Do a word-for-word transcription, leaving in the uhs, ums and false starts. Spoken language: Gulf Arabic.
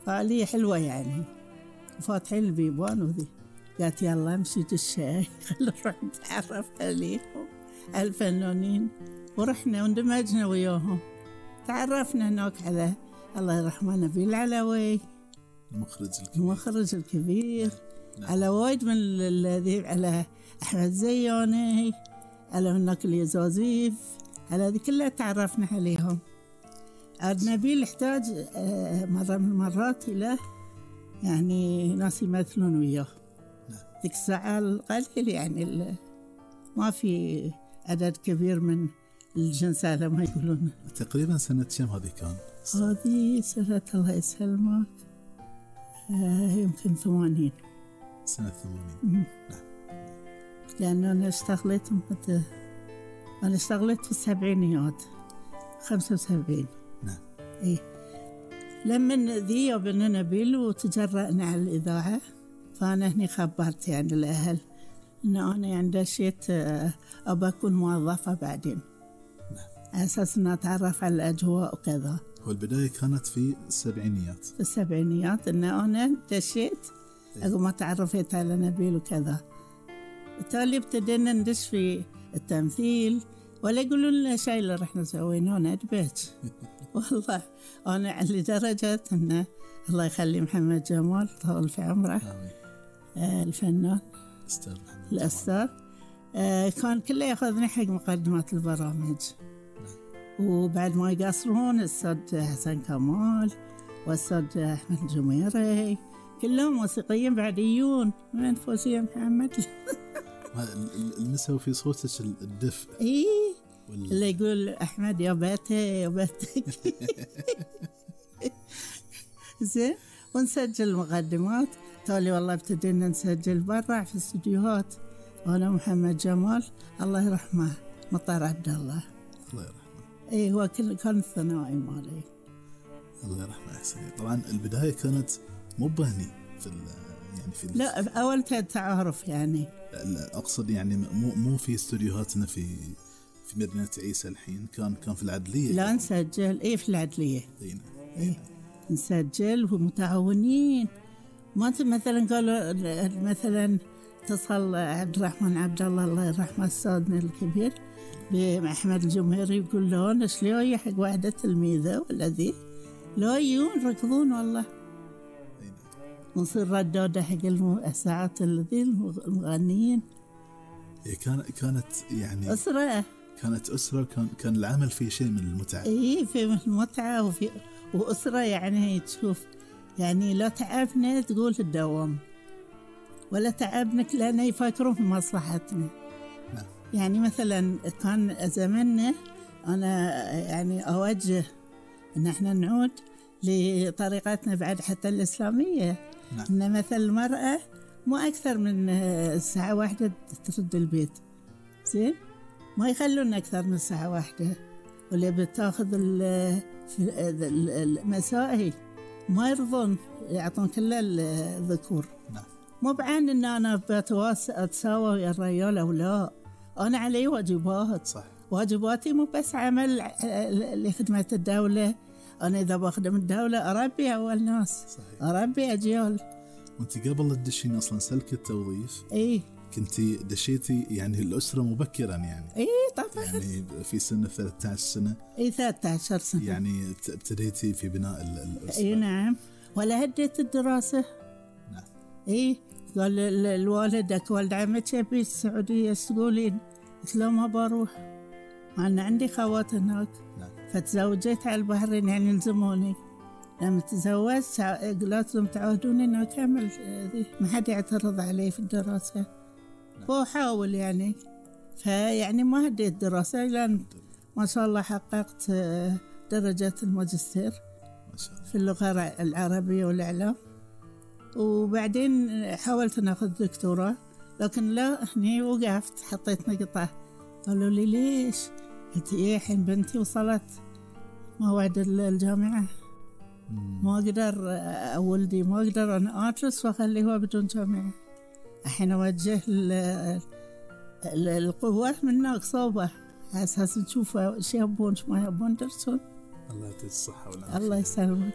فعالية حلوة يعني، فاتحين البيبان وذي. قالت يلا امشي دشي خلينا نروح نتعرف عليهم الفنانين، ورحنا واندمجنا وياهم. تعرفنا هناك على الله يرحمه نبيل العلوي المخرج الكبير, المخرج الكبير. نعم. على وايد من الذي على أحمد زياني، على هناك اليزازيف، على ذي كلها تعرفنا عليهم. عاد نبيل يحتاج مرة من المرات إلى يعني ناس يمثلون وياه. نعم. ذيك الساعة القليل يعني ما في عدد كبير من الجنس على ما يقولون. تقريبا سنة كم هذه كان؟ هذه سنة الله يسلمك آه يمكن ثمانين. سنة ثمانين. نعم. لأن أنا اشتغلت متى أنا اشتغلت في السبعينيات خمسة وسبعين. نعم. إيه لما ذي وبن نبيل وتجرأنا على الإذاعة، فأنا هني خبرت يعني الأهل إن أنا يعني دشيت أبى أكون موظفة بعدين. نعم. على أساس إن أتعرف على الأجواء وكذا. والبداية كانت في السبعينيات. في السبعينيات إن أنا دشيت أقوم ما تعرفت على نبيل وكذا. بالتالي ابتدينا ندش في التمثيل، ولا يقولون لنا شيء اللي رحنا سويناه ندبت. والله أنا لدرجة إنه الله يخلي محمد جمال طول في عمره آه الفنان أستاذ محمد الأستاذ آه كان كله يأخذني حق مقدمات البرامج. نعم. وبعد ما يقصرون الأستاذ حسن كمال والأستاذ أحمد الجميري كلهم موسيقيين بعديون من فوزية محمد. المسوا في صوتك الدفء. إيه وال... اللي يقول أحمد يا بيتي يا بيتك. زين. ونسجل مقدمات. تالي والله ابتدينا نسجل برا في الاستديوهات، وأنا محمد جمال الله يرحمه مطار عبد الله الله يرحمه. إيه هو كان الثانوي مالي الله يرحمه. حسين طبعا البداية كانت مو بهني في يعني في لا أول تعارف يعني. لا أقصد يعني مو مو في استوديوهاتنا في في مدينة عيسى الحين، كان كان في العدلية. لا نسجل إيه في العدلية. دينا. إيه نسجل ومتعاونين. ما مثلا قالوا مثلا اتصل عبد الرحمن عبد الله الله يرحمه أستاذنا الكبير بأحمد الجمهري يقول له أنا شلون حق واحدة تلميذة ولا ذي لا يجون ركضون والله. ونصير ردادة حق الساعات الذي المغنيين. هي كان كانت يعني أسرة كانت أسرة كان كان العمل فيه شيء من المتعة. إيه في المتعة وفي وأسرة يعني تشوف يعني لا تعبنا تقول الدوام ولا تعبنا لأن يفكرون في مصلحتنا. نعم. يعني مثلا كان زماننا أنا يعني أوجه إن إحنا نعود لطريقتنا بعد حتى الإسلامية. نعم. إن مثل المرأة مو أكثر من ساعة واحدة ترد البيت. زين ما يخلون أكثر من ساعة واحدة، واللي بتاخذ المسائي ما يرضون يعطون كله الذكور. نعم. مو بعين إن أنا بتساوى ويا الرجال أو لا، أنا علي واجبات. صح. واجباتي مو بس عمل لخدمة الدولة، أنا إذا بخدم الدولة أربي أول ناس. صحيح. أربي أجيال. وأنت قبل لا تدشين أصلا سلك التوظيف إيه كنتي دشيتي يعني الأسرة مبكرا يعني. إيه طبعا. يعني في سن ثلاثة عشر سنة. إيه ثلاثة عشر سنة. يعني ابتديتي في بناء الأسرة. إيه نعم. ولا هديت الدراسة. نعم. إيه قال الوالدك والد عمتي أبي السعودية تقولين؟ قلت له ما بروح، أنا عندي خوات هناك. نعم. فتزوجت على البحرين يعني يلزموني. لما تزوجت قلت لهم تعودوني إنه أكمل ما حد يعترض علي في الدراسة. نعم. وأحاول يعني فيعني ما هديت دراسة لأن ما شاء الله حققت درجة الماجستير ما شاء الله في اللغة العربية والإعلام. وبعدين حاولت أن أخذ دكتوراه لكن لا هني وقفت حطيت نقطة. قالوا لي ليش؟ قلت إيه الحين بنتي وصلت موعد الجامعة ما أقدر ولدي ما أقدر أنا أدرس وأخليه بدون جامعة. الحين أوجه القوة من ناقصوبة على أساس نشوف إيش يبون إيش ما يبون درسون. الله يعطيك الصحة والعافية. الله يسلمك.